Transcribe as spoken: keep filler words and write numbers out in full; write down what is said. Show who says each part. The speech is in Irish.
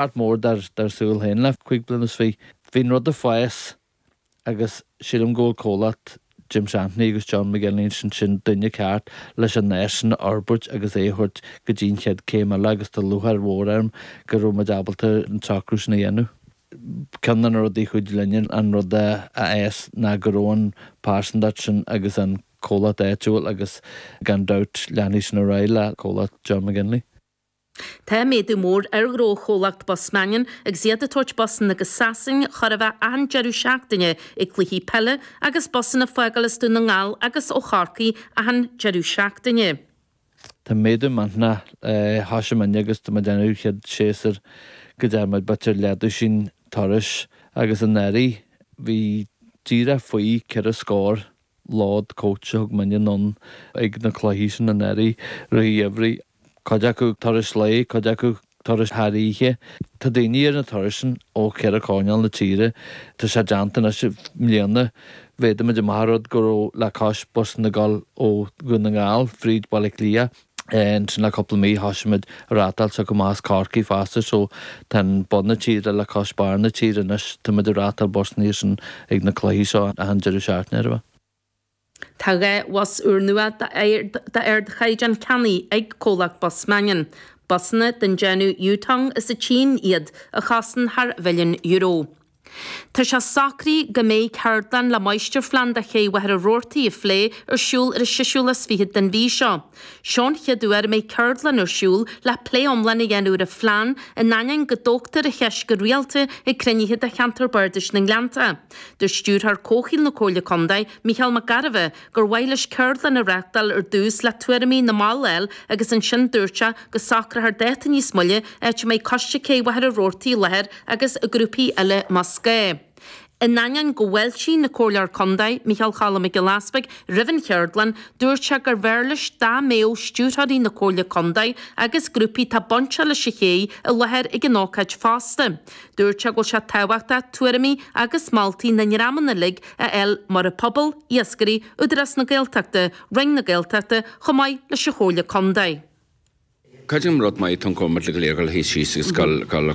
Speaker 1: Art mór dar dar súil féin le cúig bliana is fiche. Bhí an rud ag fás agus sílim go bhfuil comhlacht Jim Shanley agus John McGinley sin sin duine ceart leis an nós sin a fhorbairt agus é a thabhairt go dtí an chéad céim eile agus tá lúcháir mhór orm go raibh muid ábalta an socrú sin a dhéanamh. Ceann de na rudaí a chuidigh linne an rud a fhás ná go raibh an pearsantacht sin agus an comhlacht áitiúil agus gan dabht leanfaidh sin ar aghaidh le comhlacht John McGinley.
Speaker 2: Tá méadú mór ar ghnó chomhlacht Bus Mannion agus iad ag tabhairt busanna go Sasain chóir a bheith achan deireadh seachtaine ag cluichí peile agus busanna ag fágáil as Dún na nGall agus ó Chorcaigh achan deireadh seachtaine.
Speaker 1: Tá méadú millteanach thosaigh muidne agus tá muid ag déanamh chéad séasúr go dtearn muid b'fhéidir leathdhosaen turais agus anuraidh bhí díreach faoi ceithre scór lód coach a thug muidne anonn ag na cluichí sin anuraidh rith an gheimhridh. Cuid acu turais lae, cuid acu turais thar oíche. Tá daoine ar na turais sin ó cheithre choirnéal na tíre. Tá sé déanta anois i mbliana. Mhéadaigh muid amach an rud go raibh le cois busanna ag dul ó Dhún na nGall fríd Baile Átha Cliath. Ansin le cúpla mí thosaigh muid ag reáchtáil s'acu amach as Corcaigh fosta so tá an bun na tíre le cois barr na tíre anois. Tá muid ag reáchtáil busanna sin ag na cluichí seo achan deireadh seachtaine ar a bheith.
Speaker 2: Tá dhá bhus úrnua d'ardchaighdeán ceannaithe ag comhlacht Bus Mannion. Busanna den déanamh Yutong as an tSín iad a chosain thar mhilliún euro. Tá sé socraithe go mbeidh ceardlann le máistirphlean do Ché Mhachaire Rabhartaigh a phlé ar siúl ar an seisiú lá is fiche den mhí seo. Seo an chéad uair a mbeidh ceardlann ar siúl le plé iomlán a dhéanamh ar an phlean in ainneoin go dtógtar an cheist go rialta ag cruinnithe de cheantar Bardais na nGleannta. Dúirt Stiúrthóir Comhshaoil na Comhairle Contae, Mícheál Mac Gairbheith, gur mhaith leis ceardlann a reáchtáil ar dtús le tuairimí na mball a fháil agus ansin dúirt sé go socrófar dáta níos moille áit a mbeidh Coiste Cé Mhachaire Rabhartaigh i láthair agus grúpaí eile más gá. In ainneoin go bhfáiltigh an Comhairleoir Contae, Micheál Choilm Mac Giolla Easpaig, roimh an cheardlann, dúirt sé gur bhfearr leis dá mbeadh stiúrthóirí na Comhairle Contae agus grúpaí atá bainteach leis an ché i láthair ag an ócáid fosta. Dúirt sé go bhfuil sé tábhachtach tuairimí agus moltaí na ndreamanna uilig a fháil mar an pobal, iascairí, Údarás na Gaeltachta, Roinn na Gaeltachta, chomh maith leis an Chomhairle Contae.
Speaker 3: Creidim rud maith tá cómad le go léir go hí síos agus go